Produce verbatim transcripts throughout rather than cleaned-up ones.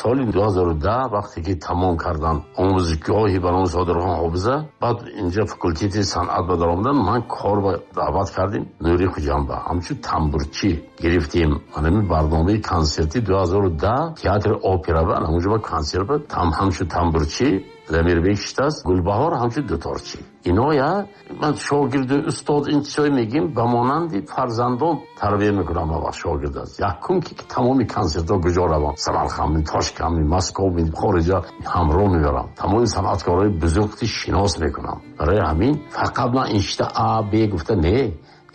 Соли ду ҳазору даҳ вақте ки тамом кардам омӯзишгоҳи ба номи Содирхон Ҳофиза, баъд инҷа факултети санъат ба даромадам, ман кор ба даъват кардем Нури Хуҷандба. Ҳамчун тамбурчӣ гирифтем. Ҳамин барномаи консерти ду ҳазору даҳ театри опера ба ҳамонҷо ба консерт ба там ҳамчун тамбурчӣ Дамирбек шиштааст, Гулбаҳор ҳамчун дуторчӣ. Иноя ман шогирду устод ин чизҳое мегим, ба монанди фарзандон тарбия мекунам ва шогирд аст. Якум ки тамоми консертҳо куҷо равам, Самарқанд, Тошканд, Москва, хориҷа ҳамроҳ мебарам. Тамоми санъаткорҳои бузургти шинос мекунам. Барои ҳамин фақат ман ин шита А, Б гуфта не,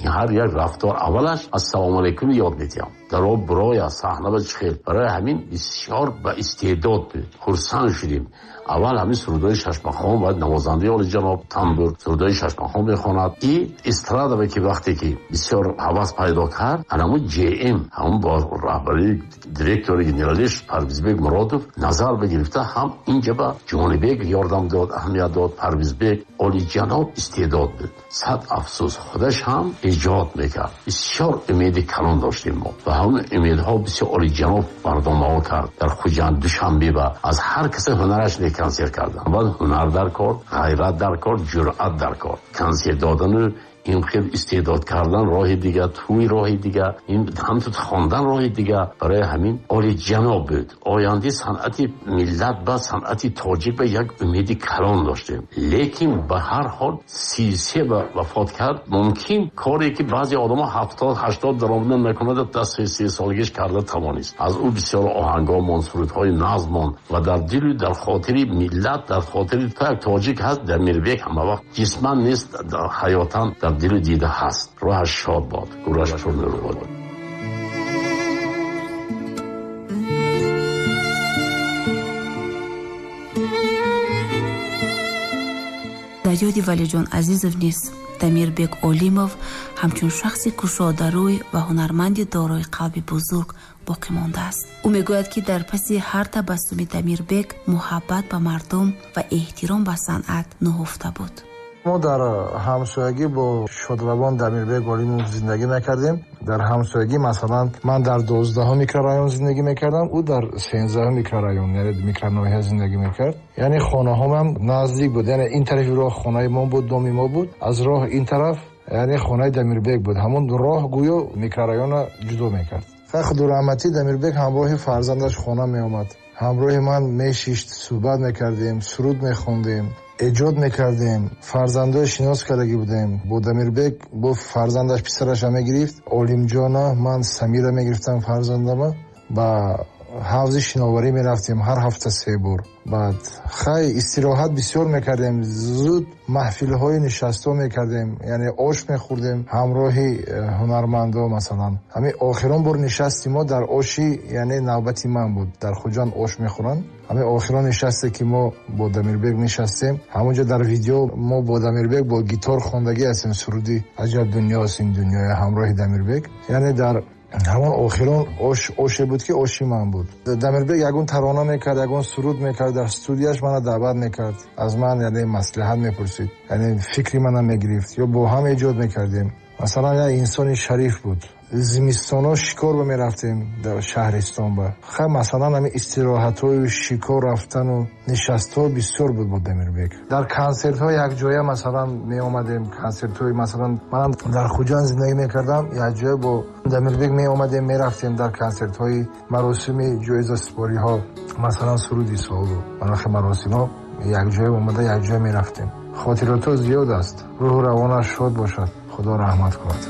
ин ҳар як рафтор аввалаш ассалому алайкум ёд медиҳам. Дар об бироя, саҳна ба чихел. Барои ҳамин бисёр ба истеъдод буд. Хурсанд шудем. Аввал ҳамин сурудҳои шашмақом ва навозандаи олиҷаноб тамбур сурудҳои шашмақом мехонад. И эстрада ки вақте ки бисёр ҳавас пайдо кард, ҳамун ҶМ, ҳамун бо раҳбарии директори генералиш Парвизбек Муродов назар бигирифта, ҳам инҷа ба Ҷонибек ёрдам дод, аҳамият дод. Парвизбек олиҷаноб истеъдод буд. Сад афсӯс, худаш ҳам эҷод мекард. Бисёр умеди калон доштем мо ва ҳамун умедҳо бисёр олиҷаноб барномаҳо кард. Дар Хуҷанд, Душанбе ба аз ҳар касе ҳунараш не консерт кардан. Баъд ҳунар дар кор, ғайрат дар кор, ҷуръат дар кор. Консерт додану ин хел истеъдод кардан роҳи дига, тӯй роҳи дига, ин ҳамту хондан роҳи дига. Барои ҳамин олиҷаноб буд. Ояндаи санъати миллат ба санъати тоҷик ба як умеди калон доштем. Лекин ба ҳар ҳол си се ба вафот кард. Мумкин коре ки баъзе одамо ҳафтод, ҳаштод даромадан накунад, дар си се солагиш карда тавонист. Аз ӯ бисёр оҳангҳо монд, сурудҳои назм монд ва дар дилу дар хотири миллат, дар хотири як тоҷик ҳаст Дамирбек ҳама вақт ҷисман нест, дар ҳаётан дар дилу дида ҳаст. Рӯҳаш шод бод, гӯраш пурнур бод. Дар ёди Валиҷон Азизов низ Дамирбек Олимов ҳамчун шахси кушодарӯй ва ҳунарманди дорои қалби бузург боқӣ мондааст. Ӯ мегӯяд, ки дар паси ҳар табассуми Дамирбек муҳаббат ба мардум ва эҳтиром ба санъат нуҳуфта буд. Мо дар ҳамсоягӣ бо шодравон Дамирбек Олимов зиндагӣ мекардем. Дар ҳамсоягӣ масалан ман дар дувоздаҳум микрорайон зиндагӣ мекардам, ӯ дар сенздаҳум микрорайон, яъне микроноҳия зиндагӣ мекард. Яъне хонаҳомам наздик буд, яъне ин тарафи роҳ хонаи мо буд, доми мо буд, аз роҳ ин тараф яъне хонаи Дамирбек буд. Ҳамон роҳ гӯё микрорайонро ҷудо мекард. Худо раҳматӣ Дамирбек ҳамроҳи фарзандаш хона меомад, ҳамроҳи ман мешишт, суҳбат мекардем, суруд мехондем, эҷод мекардем, фарзандои шинос кардагӣ будем. Бо Дамирбек бо фарзандаш писараша мегирифт, Олимҷона, ман Самира мегирифтам фарзандама, ба ҳавзи шиноварӣ мерафтем ҳар ҳафта се бор. Баъд хай истироҳат бисёр мекардем, зуд маҳфилҳои нишастҳо мекардем, яъне ош мехӯрдем ҳамроҳи ҳунармандо. Масалан ҳамин охирон бор нишасти мо дар оши, яъне навбати ман буд, дар Хуҷанд ош мехӯранд. Ҳамин охирон нишасте ки мо бо Дамирбек нишастем, ҳамонҷо дар видео мо бо Дамирбек бо гитор хондагӣ ҳастем суруди аҷаб дунёст ин дунёя ҳамроҳи Дамирбек. Яъне дар ҳамон охирон ош, оше буд ки оши ман буд. Дамирбек ягон тарона мекард, ягон суруд мекард, дар студияш мана даъват мекард, аз ман яъне маслиҳат мепурсид, яъне фикри мана мегирифт ё бо ҳам эҷод мекардем. Масалан як инсони шариф буд. Зимистонҳо шикор ба мерафтем дар шаҳристон ба. Хай масалан ҳамин истироҳатҳою шикор рафтану нишастҳо бисёр буд бо Дамирбек. Дар консертҳо якҷоя масалан меомадем, консертҳои масалан манам дар Хуҷанд зиндагӣ мекардам, якҷоя бо Дамирбек меомадем, мерафтем дар консертҳои маросими ҷоизасупориҳо, масалан суруди солу манохи маросимҳо якҷоя омада якҷоя мерафтем. Хотиротҳо зиёд аст. Рӯҳу равонаш шод бошад, Худо раҳмат кунад.